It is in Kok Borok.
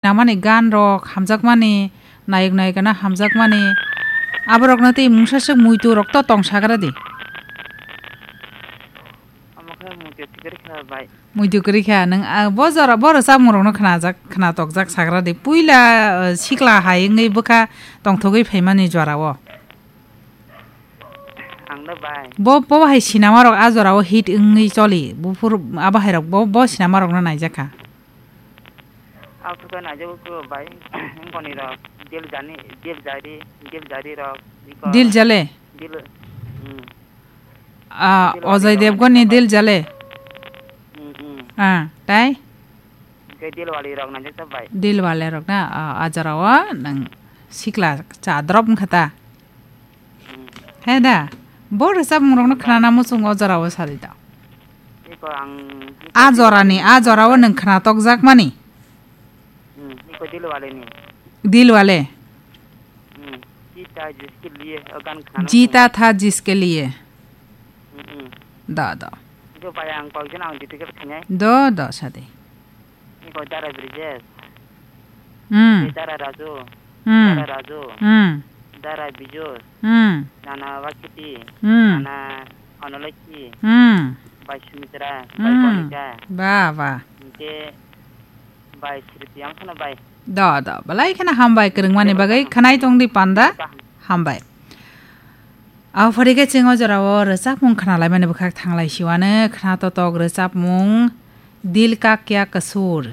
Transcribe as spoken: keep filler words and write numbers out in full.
Namani gan rok hamjakmani, nayok nayikano hamjakmani, aborokno tei mungsa swk muitu rok to tong sagra di. Omo khe muitu kwrwi kha bai. Muitu kwrwi kha, nwng, ah, bo jora, bo rwchapmung rokno khnajak, khnatokjak sagra di. Puila, ah, sikla hai wngwi bwkha tongthogwi phaimani jorao. Ang da bai. Bo, bo hai sinama rok a jorao hit wngwi choli. Buphur abo hai rok bo, bo sinama rokno naijakha. Ang khe naijago khe bai, wngkoni rok, Dil Jani, Dil Jari, Dil Jari rok, iko Dil Jale? Dil, hmm. Ah, Dil Wali Ajay rok Devgan ni naijakha bai. Dil Jale? Hmm, hmm. Ah, tai? Hwnkhe Dil Wali rok naijakha bai. Dil Wale rok na, ah, a jorao nang sikla cha drop wngkha ta? Hmm. He da, bo rwchapmung rokno khnana muchungo o jorao sadi da. Iko ang A jorani, a jorao nwng khnatokjakmani. Hmm, iko Dil Wale ni. Dil Wale. Hmm, Jita jiske liye, o gan khana Jita tha jiske liye. Hmm, hmm. Da, da. Iko bai ang kok jon ang detail khe khanai. Do, do, sadi. Iko Dara Brijesh. Hmm. Dara Raju. Hmm. Dara Raju. Hmm. Dara Bijus. Hmm. Nana Wakiti. Hmm. Nana Onolokhi. Hmm. Bai Sumitra. Bai Hmm. Konika. Ba, ba. Hwnkhe bai Sriti ang phano bai. Do, do. Belai kheno hambai kwrwngmani bagwi. Khwnai tong di panda. Hambai. Aphari khe chwng o jorao rwchapmung khnalaimani bwkhak thanglai siwano khna totok rwchapmung Dil Ka Kya Kasoor.